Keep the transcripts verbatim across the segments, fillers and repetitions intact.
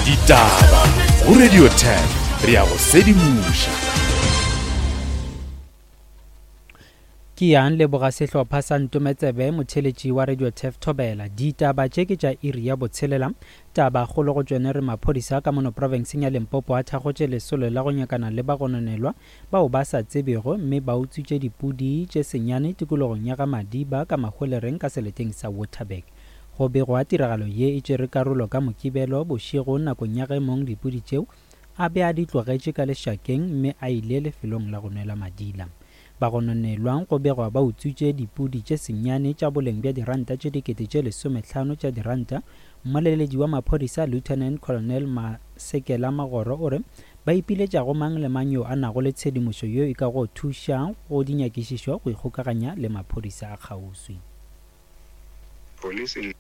Ditaba go Radio ten re ya go sedimoša. Ke yang leboga sehlopha sa Ntometsebe motheletši wa Radio Turf Thobela. Ditaba tše ke tša iri ya botshelela. Taba kgolo go tšone re maphodisa ka mono profenseng ya Limpopo a thakgotše lesolo la go nyakana le bagononelwa bao ba sa tsebego mme ba utswitše dipudi tše senyane tikologong ya ga Madiba ka Mahwelereng ka seleteng sa Waterberg. Go begwa tiragalo ye e tšere karolo ka Mokibelo bošego nakong ya ge mong dipudi tšeo a be a di tlogetše ka lešakeng mme a ile lefelong la go nwela madila. Bagononelwa go begwa ba utswitše dipudi tše senyane tša boleng bja diranta tše dikete tše lesomehlano tša diranta. Mmoleledi wa maphodisa Lieutenant Colonel Masekela Magoro o re ba ipiletša go mang le mang yo a nago le tshedimošo yo e ka go thuša go dinyakišišo go ikgokaganya le maphodisa a kgauswi. Police in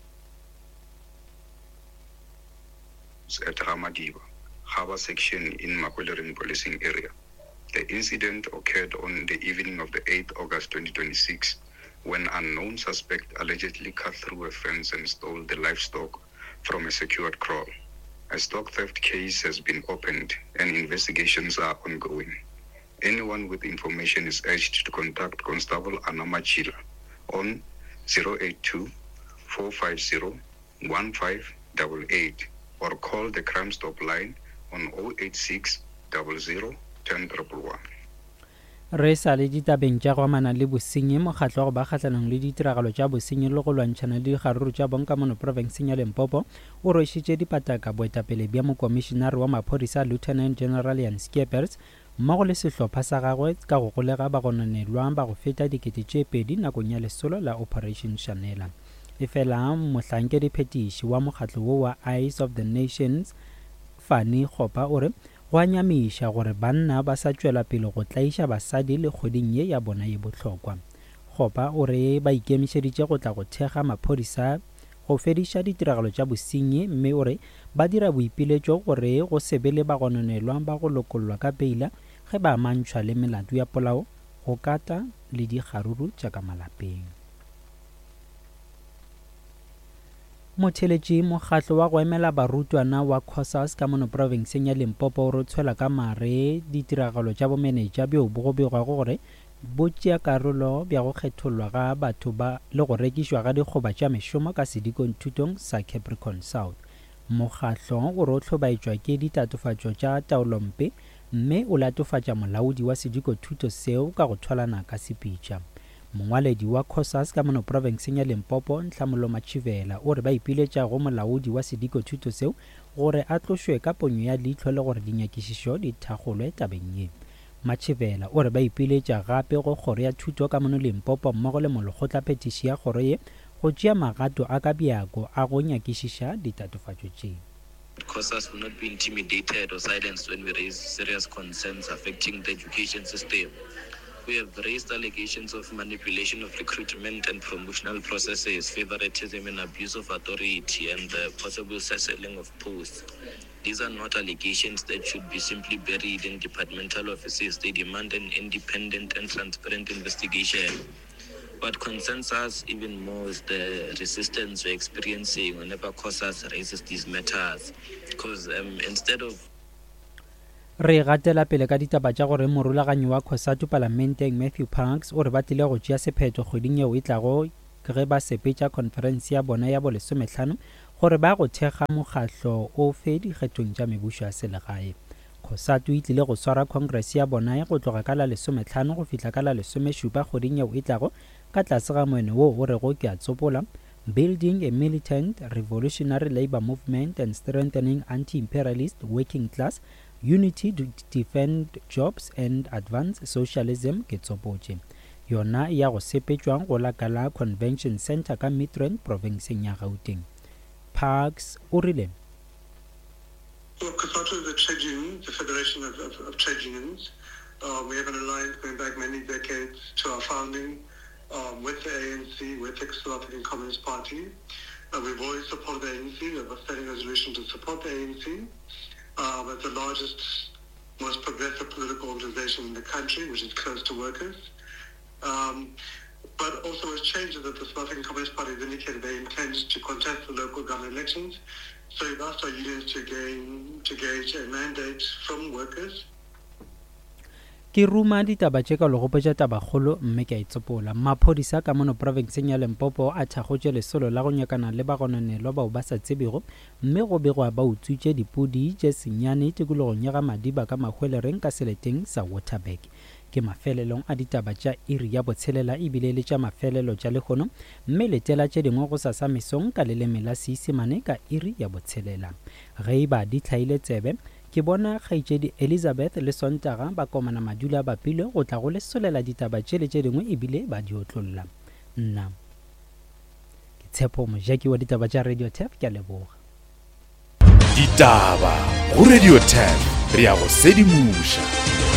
at Ramadiba, Harbor section in Mahwelereng policing area. The incident occurred on the evening of the eighth August twenty twenty-six when unknown suspect allegedly cut through a fence and stole the livestock from a secured kraal. A stock theft case has been opened and investigations are ongoing. Anyone with information is urged to contact Constable Anna Machila on zero eight two, four five zero, one five eight eight or call the Crime Stop line on oh eight six, double zero, ten triple one. Re sa le ditabeng tša go amana le bosenyi, mokgatlo wa go ba kgahlanong le ditiragalo tša bosenyi le go lwantšhana le dikgaruru tša bong ka mono profenseng ya Limpopo o rwešitše dipataka boetapele bja mokomišenare wa maphodisa Lieutenant General Jan Skeepers mmogo le sehlopha sa gagwe ka go golega bagononelwa ba go feta dikete tše pedi nakong ya lesolo la Operation Shanela. Efela mohlankediphethiši wa mokgatlo wo wa Eyes of the Nations Fani Kgopa o re go a nyamiša gore banna ba sa tšwela pele go tlaiša basadi le kgweding ye ya bona ye bohlokwa. Kgopa o re ba ikemišeditše go tla go thekga maphodisa go fediša ditiragalo tša bosenyi mme o re ba dira boipiletšo gore go se be le bagononelwa ba go lokollwa ka peila ge ba amantšhwa le melato ya polao, go kata le dikgaruru tša ka malapeng. Motheletši mokgatlo wa go emela barutwana wa COSAS ka mono profenseng ya Limpopo o re tshwela ka mare ditiragalo tša bomenetša bjo bo go begwago gore bo tšea karolo bja go kgethollwa ga batho ba le go rekišwa ga dikgoba tša mešomo ka sedikong thutong sa Capricorn South. Mokgatlo o re o hlobaetšwa ke ditatofatšo tša taolompe mme o latofatša molaodi wa sediko thuto seo ka go thwalana ka sepitša. Mongwaledi wa COSAS ka mono profenseng ya Limpopo Nhlamulo Machivela o re ba ipiletša go molaodi wa sediko thuto seo gore a tlošwe ka ponyo ya leihlo le gore dinyakišišo di thakgolwe tabeng ye. Machivela o re ba ipiletša gape go kgoro ya thuto ka mono Limpopo mmogo le molekgotlaphethiši ya kgoro ye go tšea magato a ka bjako a go nyakišiša ditatofatšo tše. COSAS will not be intimidated or silenced when we raise serious concerns affecting the education system. We have raised allegations of manipulation of recruitment and promotional processes, favoritism and abuse of authority, and the possible selling of posts. These are not allegations that should be simply buried in departmental offices. They demand an independent and transparent investigation. What concerns us even more is the resistance we're experiencing whenever COSAS raises these matters. Because um, instead of Re gatela pele ka ditaba tša gore morulaganyi wa COSATU palamenteng Matthew Parks o re ba tlile go tšea sephetho kgweding yeo e tlago ge ba sepetša conference ya bona ya bolesomehlano gore ba go thekga mokgatlo ofe dikgethong tša mebušo ya selegae. COSATU e tlile go swara congress ya bona go tloga ka la lesomehlano go fihla ka la lesomešupa kgweding yeo e tlago ka tlase ga moeno wo o rego ke a tsopola Building a Militant Revolutionary Labor Movement and Strengthening Anti-Imperialist Working Class Unity to Defend Jobs and Advance Socialism ke tsopotše. Yona ya go sepetšwang go la ka la Convention Center ka Midrand provinceng ya Gauteng. Parks o rile Well, COSATU is a trade union, the Federation of, of, of Trade Unions. Um, we have an alliance going back many decades to our founding um, with the A N C, with the South African Communist Party. Uh, we've always supported the A N C. We have a standing resolution to support the A N C. Um, it's the largest, most progressive political organization in the country, which is close to workers. Um, but also what's changed is that the South African Communist Party has indicated they intend to contest the local government elections. So we've asked our unions to gain to gauge a mandate from workers. Ke ruma ditaba tše ka legopetša tabakgolo mme ke a itsopola. Maphodisa ka mono profenseng ya Limpopo a thakgotše lesolo la go nyakana le bagononelwa bao ba sa tsebego mme go begwa ba utswitše dipudi tše senyane tikologong ya ga Madiba ka Mahwelereng ka seleteng sa Waterberg. Ke mafelelong a ditaba tša iri ya botshelela ebile le tša mafelelo tša lehono mme letela tše dingwe go sasa mesong ka leleme la Seisemane ka iri ya botshelela. Ge e ba di hlaile tsebe, ke bona kgaetšedi Elizabeth le Sontaga ba komana madula a bapilwe go tla go lesolela ditaba tše le tše dingwe ebile ba di otlolla. Nna ke Tshepo Mojaki wa ditaba tša Radio Turf, ke a leboga. Ditaba go Radio Turf, re ya go sedimoša.